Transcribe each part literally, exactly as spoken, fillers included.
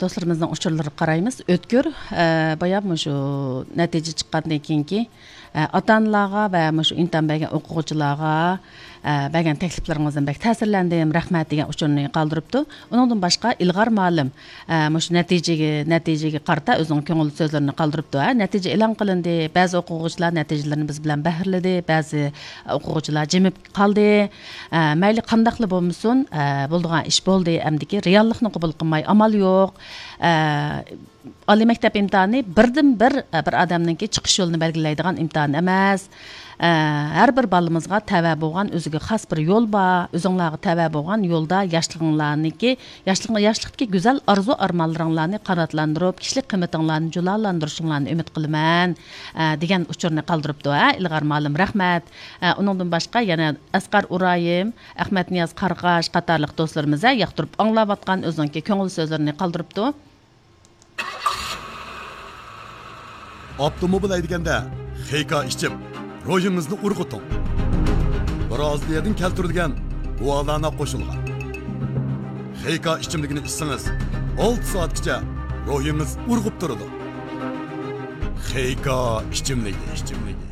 دوستلىرىمىزنىڭ ئۇچۇرلىرىغا قارايمىز. ئۆتكۈر، ئە، بايا مۇشۇ نەتىجە چىققاندىن كېيىنكى، ئە، ئاتا-ئانىلارغا ۋە مۇشۇ ئىمتىھان بەرگەن ئوقۇغۇچىلارغا، ئە، بەرگەن تەكلىپلىرىڭىزدىن بەك تەسىرلەندىم، رەھمەت، دېگەن ئۇچۇرنى قالدۇرۇپتۇ. ئۇنىڭدىن باشقا ئىلغار مۇئەللىم، ئە، مۇشۇ نەتىجىگە، نەتىجىگە قارىتا ئۆزىنىڭ كۆڭۈل سۆزلىرىنى قالدۇرۇپتۇ. ھە، نەتىجە ئېلان قىلىندى، بەزى ئوقۇغۇچىلار نەتىجىلىرىنى بىز بىلەن بەھرىلىدى، بەزى ئوقۇغۇچىلار جىمىپ قالدى. ئە، مەيلى قانداقلا بولمىسۇن، ئە، بولىدىغان ئىش بولدى، ئەمدىكى رېئاللىقنى قوبۇل قىلماي ئامال يوق. ئە، ئالىي مەكتەپ ئىمتىھانى بىردىنبىر، ئە، بىر ئادەمنىڭكى چىقىش يولىنى بەلگىلەيدىغان ئىمتىھان ئەمەس. ئە، ھەر بىر بالىمىزغا تەۋە بولغان ئۆزىگە خاس بىر يول بار. ئۆزۈڭلارغا تەۋە بولغان يولدا ياشلىقىڭلارنىڭكى، ياشلىق-، ياشلىقتىكى گۈزەل ئارزۇ-ئارمانلىرىڭلارنى قاناتلاندۇرۇپ، كىشىلىك قىممىتىڭلارنى جۇلالاندۇرۇشۇڭلارنى ئۈمىد قىلىمەن، ئە، دېگەن ئۇچۇرنى قالدۇرۇپتۇ. ھە، ئىلغار مۇئەللىم، رەھمەت. ئە، ئۇنىڭدىن باشقا يەنە ئەسقەر ئۇرايىم، ئەخمەتنىياز قارغاش قاتارلىق دوستلىرىمىز، ھە، ياقتۇرۇپ ئاڭلاۋاتقان ئۆزىنىڭكى كۆڭۈل سۆزلىرىنى قالدۇرۇپتۇ. ئاپتوموبىل ھەيدىگەندە خېيكا ئىچىپ، روھىڭىزنى ئۇرغۇتۇڭ. برازىلىيەدىن كەلتۈرۈلگەن گۇالانا قوشۇلغان خېيكا ئىچىملىكىنى ئىچسىڭىز، ئالتە سائەتكىچە روھىڭىز ئۇرغۇپ تۇرىدۇ. خېيكا ئىچىملىكى، ئىچىملىكى.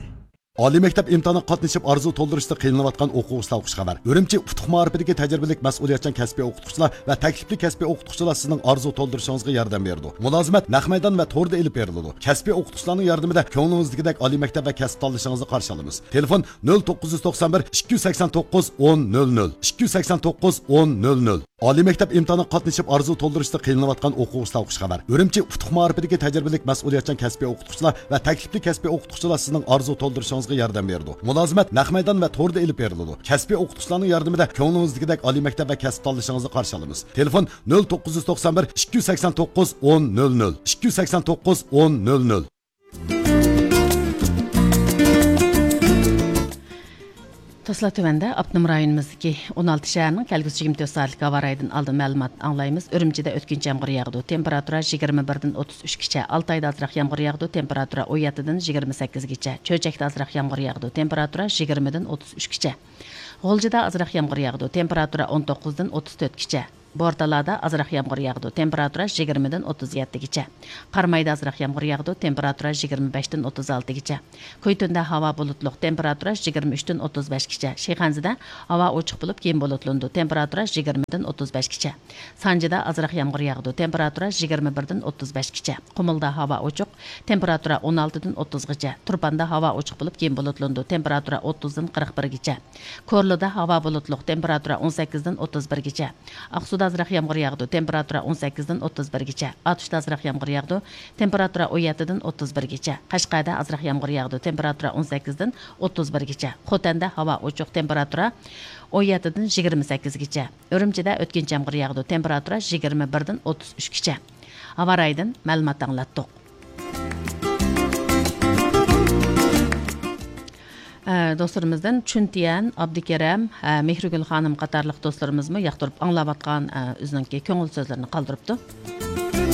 ئالىي مەكتەپ ئىمتىھانىغا قاتنىشىپ ئارزۇ تولدۇرۇشتا قىينىلىۋاتقان ئوقۇغۇچىلارغا خۇش خەۋەر. ئۈرۈمچى ئۇتۇق مائارىپىدىكى تەجرىبىلىك مەسئۇلىيەتچان كەسپىي ئوقۇتقۇچىلار ۋە تەكلىپلىك كەسپىي ئوقۇتقۇچىلار سىزنىڭ ئارزۇ تولدۇرۇشىڭىزغا ياردەم بېرىدۇ. مۇلازىمەت نەق مەيدان ۋە توردا ئېلىپ بېرىلىدۇ. كەسپىي ئوقۇتقۇچىلارنىڭ ياردىمىدە كۆڭلىڭىزدىكىدەك ئالىي مەكتەپ ۋە كەسىپ تاللىشىڭىزنى قارشى ئالىمىز. تېلېفون: نۆل توققۇز يۈز توقسان بىر، ئىككى يۈز سەكسەن توققۇز، ئون نۆل نۆل، ئىككى يۈز سەكسەن توققۇز، ئون نۆل نۆل. ئالىي مەكتەپ ئىمتىھانىغا قاتنىشىپ ئارزۇ تولدۇرۇشتا قىينىلىۋاتقان ئوقۇغۇچىلارغا خۇش خەۋەر. ئۈرۈمچى ئۇتۇق مائارىپىدىكى تەجرىبىلىك مەسئۇلىيەتچان كەسپىي ئوقۇتقۇچىلار ۋە تەكلىپلىك كەسپىي ئوقۇتقۇچىلار سىزنىڭ ئارزۇ تولدۇرۇشىڭىزغا ياردەم بېرىدۇ. مۇلازىمەت نەق مەيدان ۋە توردا ئېلىپ بېرىلىدۇ. كەسپىي ئوقۇتقۇچىلارنىڭ ياردىمىدە كۆڭلىڭىزدىكىدەك ئالىي مەكتەپ ۋە كەسىپ تاللىشىڭىزنى قارشى ئالىمىز. تېلېفون: نۆل توققۇز يۈز توقسان بىر، ئىككى يۈز سەكسەن توققۇز، ئون نۆل نۆل، ئىككى يۈز سەكسەن توققۇز، ئون نۆل نۆل. دوستلار، تۆۋەندە ئاپتونوم رايونىمىزدىكى ئون ئالتە شەھەرنىڭ كەلگۈسى يىگىرمە تۆت سائەتلىك ھاۋا رايىدىن ئالدىن مەلۇمات ئاڭلايمىز. ئۈرۈمچىدە ئۆتكۈنچى يامغۇر ياغىدۇ. تېمپېراتۇرا يىگىرمە بىردىن ئوتتۇز ئۈچكىچە. ئالتايدا ئازراق يامغۇر ياغىدۇ. تېمپېراتۇرا ئون يەتتىدىن يىگىرمە سەككىزگىچە. چۆچەكتە ئازراق يامغۇر ياغىدۇ. تېمپېراتۇرا يىگىرمىدىن ئوتتۇز ئۈچكىچە. غۇلجىدا ئازراق يامغۇر ياغىدۇ. تېمپېراتۇرا ئون توققۇزدىن ئوتتۇز تۆتكىچە. بورتالادا ئازراق يامغۇر ياغىدۇ. تېمپېراتۇرا يىگىرمىدىن ئوتتۇز يەتتىگىچە. قارامايدا ئازراق يامغۇر ياغىدۇ. تېمپېراتۇرا يىگىرمە بەشتىن ئوتتۇز ئالتىگىچە. كۈيتۇندە ھاۋا بۇلۇتلۇق. تېمپېراتۇرا يىگىرمە ئۈچتىن ئوتتۇز بەشكىچە. شىخەنزىدە ھاۋا ئوچۇق بولۇپ، كېيىن بۇلۇتلىنىدۇ. تېمپېراتۇرا يىگىرمىدىن ئوتتۇز بەشكىچە. سانجىدا ئازراق يامغۇر ياغىدۇ. تېمپېراتۇرا يىگىرمە بىردىن ئوتتۇز بەشكىچە. قۇمۇلدا ھاۋا ئوچۇق. تېمپېراتۇرا ئون ئالتىدىن ئوتتۇزغىچە. تۇرپاندا ھاۋا ئوچۇق بولۇپ، كېيىن بۇلۇتلىنىدۇ. تېمپېراتۇرا ئوتتۇزدىن قىرىق بىرگىچە. كورلىدا ھاۋا بۇلۇتلۇق، تېمپېراتۇرا ئون سەككىزدىن ئوتتۇز بىرگىچە. ئاقسۇدا ئازراق يامغۇر ياغىدۇ، تېمپېراتۇرا ئون سەككىزدىن ئوتتۇز بىرگىچە. ئاتۇشتا ئازراق يامغۇر ياغىدۇ، تېمپېراتۇرا ئون يەتتىدىن ئوتتۇز بىرگىچە. قەشقەردە ئازراق يامغۇر ياغىدۇ، تېمپېراتۇرا ئون سەككىزدىن ئوتتۇز بىرگىچە. خوتەندە ھاۋا ئوچۇق، تېمپېراتۇرا ئون يەتتىدىن يىگىرمە سەككىزگىچە. ئۈرۈمچىدە ئۆتكۈنچى يامغۇر ياغىدۇ، تېمپېراتۇرا يىگىرمە بىردىن ئوتتۇز ئۈچكىچە. ھاۋا رايىدىن مەلۇمات ئاڭلاتتۇق. ئە، دوستلىرىمىزدىن چۈنتيەن، ئابدۇكېرەم، ئە، مېھرىگۈل خانىم قاتارلىق دوستلىرىمىزمۇ ياقتۇرۇپ ئاڭلاۋاتقان، ئە، ئۆزىنىڭكى كۆڭۈل سۆزلىرىنى قالدۇرۇپتۇ.